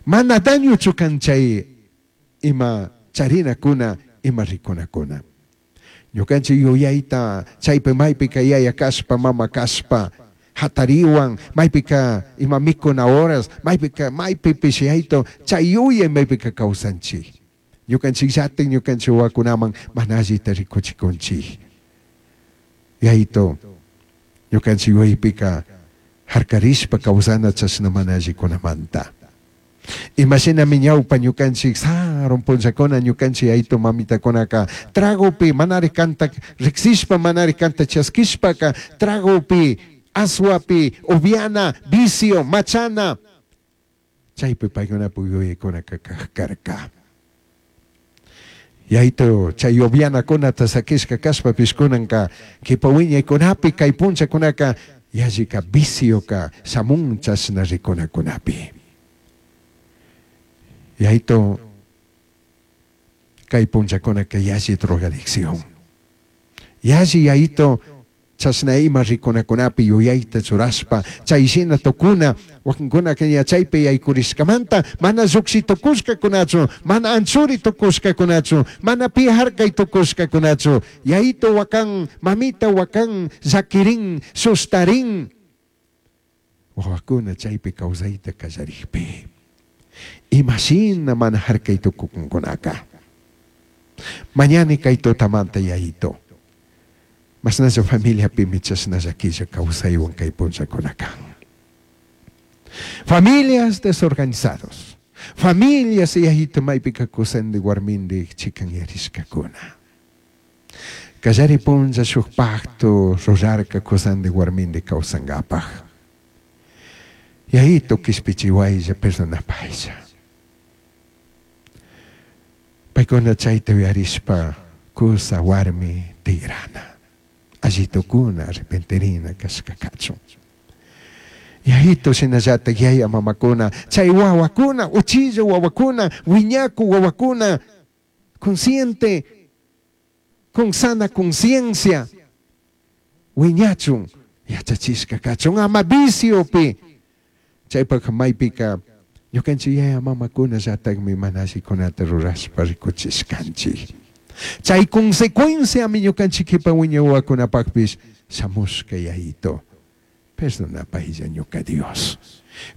Mana dañochu kan chay ima charinakuna, ima rikunakuna. Ñukanchik yuyayta chaypi maypika yaya kashpa, mama kashpa, hatariwan, maypika ima mikuna horas, maypika maypipish yayto, chay yuyay maypika kawsanchik. Ñukanchikllatik ñukanchik wawakunaman mana allita rikuchikunchik. Yayto, ñukanchik yuyaypika harkarishpa kawsana chashna mana allikunamanta. Imashinami ñawpa ñukanchik sarun punllakuna ñukanchik yayto mamitakunaka tragopi manari kanta riksishpa manari kanta chaskishpaka tragopi aswapi upiana vicio machana chaypi paykunapak yuyaykunaka kak karka. Yayto chay upianakunata sakishka kashpapish kunanka kipa wiñaykunapi kay punllakunaka yallika vicioka shamun chashna rikunakunapi. Yayto kay punllakunaka yalli drogadicción. Yalli yayto chashna ima rikunakunapi yuyayta churashpa chay shina tukuna wakinkunaka ña chaypi yaykurishkamanta mana lluqshi tukushkakunachu, mana anchuri tukushkakunachu, mana pi harkay tukushkakunachu. Yayito wakan, mamita wakan, llakirin, sustarin. Wawakuna chaypi kawsayta kallarikpi. Imashina mana harkay tukukunkunaka. Mañani kay tutamanta yayito. Mashnalla familiapimi chashna llaquilla kawsaywan kay punllakunaka. Familias desorganizados. Familias yayito maypika kusandi warmindik chikanyarishkakuna. Kallari punlla shuk pacto rurarka kusandi warmindik kawsankapaj. Yayito kishpichiwaylla perdonapaylla. Paykuna chayta uyarishpa kusa warmi tigrana. Allitukuna arrepentirina kashka kachun. Yayito shinallatak yaya mamakuna, chay wawakuna, uchilla wawakuna, wiñaku wawakuna, consciente, con sana conciencia, wiñachun, yachachishka kachun, ama viciopi. Chaypak maypika ñukanchik yaya mamakuna llatakmi mana allikunata rurashpa rikuchishkanchik. Chay consecuenciami ñukanchik kipa wiñay wawakunapakpish shamushka yayito. Perdonapaylla ñuka Dios.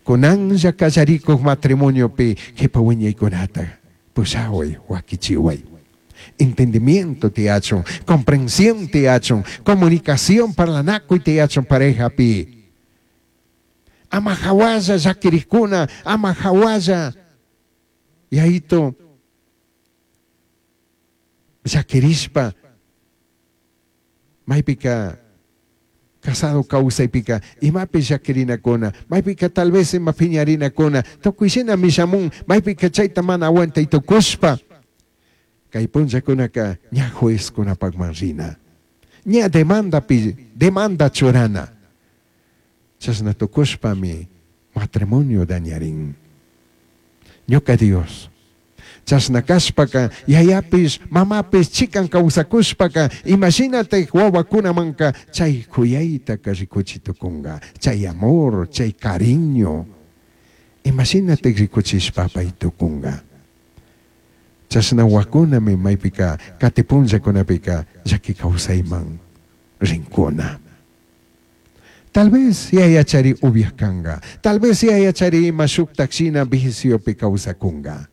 Kunanlla kallarikuk matrimoniopi kipa wiñaykunata pushaway, wakichiway. Entendimiento tiyachun, comprensión tiyachun, comunicación parlanakuy tiyachun parejapi. Ama hawalla llakirikuna, ama hawalla yayito llakirishpa maypika casado kawsaypika imapi llakirinakuna, maypika tal vez ima piñarinakuna, tukuy shinami shamun, maypika chayta mana aguantay tukushpa. Kay punllakunaka ña juezkunapakman rina, ña demandapi, demanda churana. Chashna tukushpami matrimonio dañarin. Ñuka Dios. Chashna kashpaka yayapish mamapish chikan kawsakushpaka imashinatak wawakunamanka chay kuyaytaka rikuchi tukunka, chay amor, chay cariño. Imashinatak rikuchishpa pay tukunka. Chashna wawakunami maypika kati punllakunapika llaki kawsayman rinkuna. Tal vez yayachari upiak kanka, tal vez yayachari ima shuktak shina viciopi kawsakunka.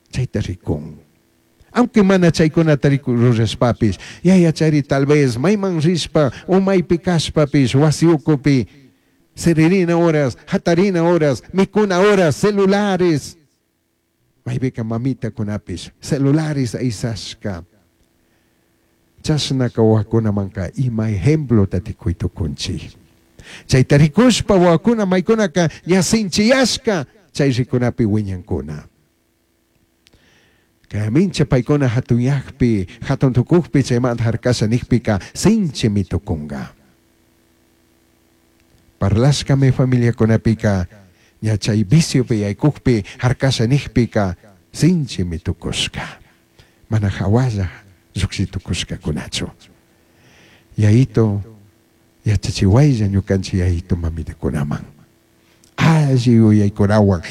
Chayta rikun. Aunque mana chaykunata rurashpapish, yayachari tal vez mayman rishpa o maypi kashpapish wasi ukupi siririna horas, hatarina horas, mikuna horas, celulares. Maypika mamitakunapish celulares aysashka. Chashnaka wawakunamanka ima ejemplota tikuy tukunchik. Chayta rikushpa wawakuna maykunaka ña sinchiyashka chay rikunapi wiñankuna. Kay mincha paykuna hatunyakpi, hatun tukukpi chaymanta harkasha nikpika sinchimi tukunka. Parlashkami familiakunapika ña chay viciopi yaykukpi harkasha nikpika sinchimi tukushka. Mana hawalla lluqshi tukushkakunachu. Yayito yachachiwaylla ñukanchik yayito mamitakunaman. Alli yuyaykunawan.